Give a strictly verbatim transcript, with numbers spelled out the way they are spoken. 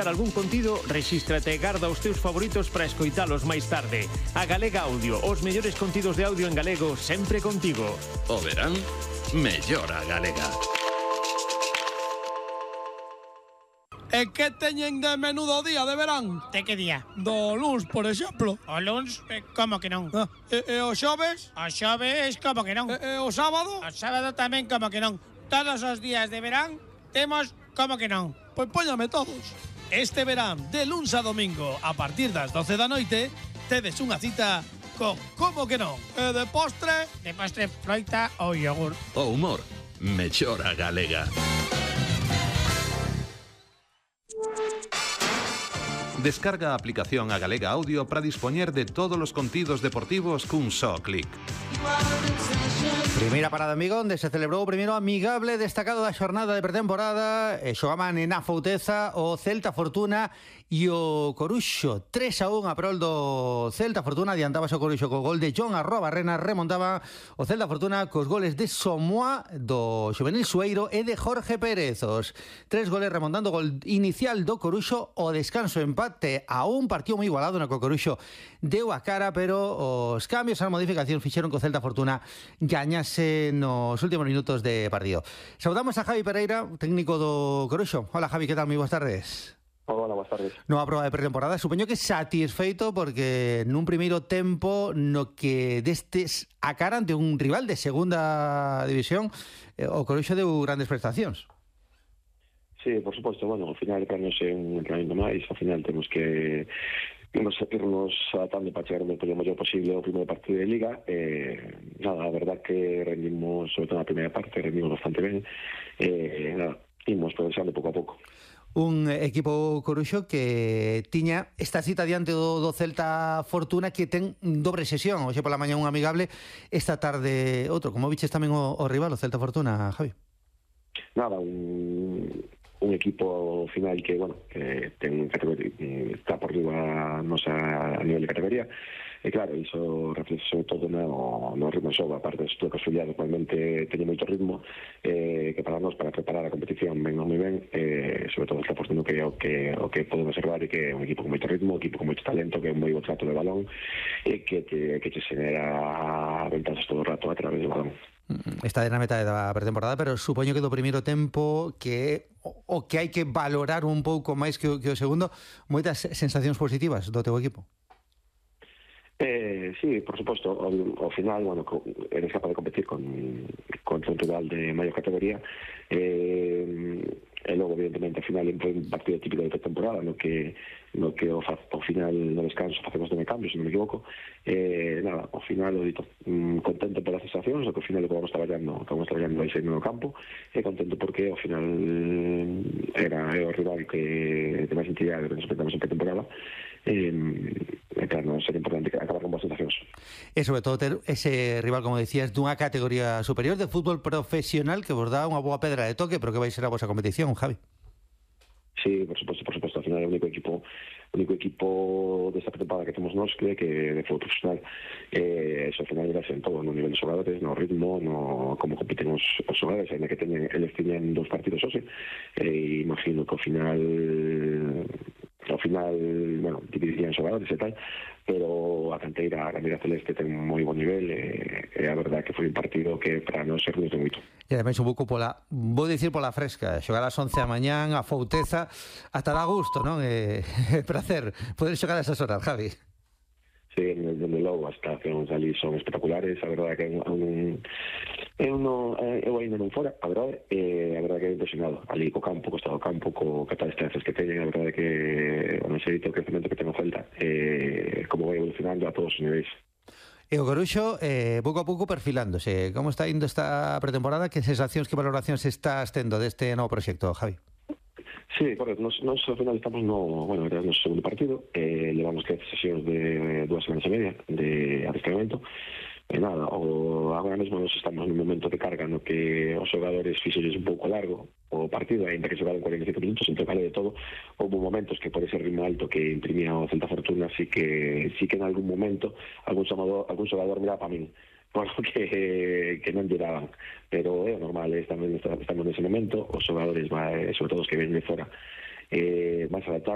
algún contido, rexístrate e garda os teus favoritos para escoitalos máis tarde. A Galega Audio, os mellores contidos de audio en galego sempre contigo. O verán, mellora Galega. E que teñen de menudo día de verán? De que día? Do luns, por exemplo. O luns, eh, como que non? Ah, e, e o xoves? O xoves, como que non? E, e o sábado? O sábado tamén, como que non? Todos os días de verán temos como que non? Pois póñame todos. Este verán, de luns a domingo, a partir das doce da noite, tedes unha cita con como que non? E de postre? De postre, froita ou yogur. O humor, mellora Galega. Descarga a aplicación a Galega Audio para dispoñer de todos os contidos deportivos cun só clic. Primeira parada amigo onde se celebrou o primeiro amigable destacado da xornada de pretemporada e xogaban en Afouteza o Celta Fortuna e o Coruxo. Tres a un a prol do Celta Fortuna, adiantábase o Coruxo co gol de John Arrobarrena, remontaba o Celta Fortuna cos goles de Somoa, do Xuvenil Sueiro e de Jorge Pérez. Os tres goles remontando o gol inicial do Coruxo, o descanso empate a un partido moi igualado no que o Coruxo deu a cara, pero os cambios a modificación fixeron que o Celta Fortuna gañase nos últimos minutos de partido. Saudamos a Javi Pereira, técnico do Coruxo. Hola Javi, que tal? Moi boas tardes. Hola, boas tardes. Nova proba de pretemporada, supoño que satisfeito porque nun primeiro tempo no que destes a cara ante un rival de segunda división, o Coruxo deu grandes prestacións. Sí, por suposto, bueno, ao final para nos é un entrenamento máis, ao final temos que nos irnos atando para chegar o mellor posible ao primeiro partido de Liga. Eh, nada, a verdad que rendimos, sobre todo na primeira parte, rendimos bastante ben. Eh, nada, imos progresando pouco a pouco. Un equipo Coruxo que tiña esta cita diante do, do Celta Fortuna, que ten dobre sesión, hoxe pola mañá un amigable, esta tarde outro. Como viches tamén o, o rival, o Celta Fortuna, Javi? Nada, un, un equipo final que, bueno, que ten categoría, está por riba nosa a nivel de categoría. E claro, iso reflexe sobre todo no, no ritmo de xogo, aparte de que a Xulia normalmente teñe moito ritmo, eh, que para nós, para preparar a competición ben ou moi ben, eh, sobre todo está postando que é o que, o que podemos observar, e que é un equipo con moito ritmo, un equipo con moito talento, que é un moi bo trato de balón, e que te, que te xenera ventajas todo o rato a través do balón. Está na metade da pretemporada, pero supoño que do primeiro tempo que o, o que hai que valorar un pouco máis que o, que o segundo, moitas sensacións positivas do teu equipo. Eh, sí, por suposto, ao, ao final, bueno, eres capaz de competir con, con un rival de maior categoría, eh, e logo, evidentemente, ao final é un partido típico de temporada no que, no que ao, ao final no descanso facemos de cambios, se non me equivoco. Eh, nada, ao final, o dito, mm, contento polas sensacións, o que ao final o que vamos traballando, que vamos traballando aí no campo, e contento porque ao final era o rival que de máis entidade que nos enfrentamos en pretemporada. Eh, e claro, non sería importante acabar con boas sensacións. E sobre todo ter ese rival, como decías, dunha categoría superior de fútbol profesional que vos dá unha boa pedra de toque, pero que vai ser a vosa competición, Javi. Sí, por suposto, por suposto, ao final é o único equipo o único equipo desta pretemporada que temos nós que, que de fútbol profesional, eh, eso ao final era en todo, no nivel de xogadores, no ritmo, no como compiten os, os xogadores, ainda que teñen, eles teñen dos partidos hoxe, e eh, imagino que ao final ao final, bueno, dividirían xogadores e tal, pero a canteira, a canteira celeste ten un moi bon nivel, e, e a verdade que foi un partido que para non ser de moito. E ademais un pouco pola, vou dicir pola fresca, xogar ás once da mañán, a Fouteza, ata dá gusto, non? É, é placer poder xogar a esas horas, Javi. Sí, desde logo, as estacións ali son espectaculares, a verdade que é un... Eu, no, eu ainda non fora, a verdade, e a verdade que é impresionado. Ali co campo, co estado do campo, co catal distancias que teñen, a verdade que o nexerito crecemento que ten o Celta, e como vai evolucionando a todos os niveis. E o Coruxo, eh, pouco a pouco perfilándose. Como está indo esta pretemporada? Que sensacións, que valoracións estás tendo deste novo proxecto, Javi? Sí, correcto, nos, nos ao final estamos no, bueno, era no segundo partido, eh, levamos que sesións de dúas semanas e media de adestramento, e nada, o, agora mesmo nos estamos nun momento de carga no que os xogadores fixelles un pouco largo o partido, ainda que xogaron cuarenta e cinco minutos, entre vale de todo, houve momentos que por ese ritmo alto que imprimía o Celta Fortuna, sí que, sí que en algún momento algún xogador, algún xogador miraba para min, por que, que non llegaban, pero é normal, estamos, estamos nese momento, os xogadores, vai, sobre todo os que ven de fora, eh, máis al ataque,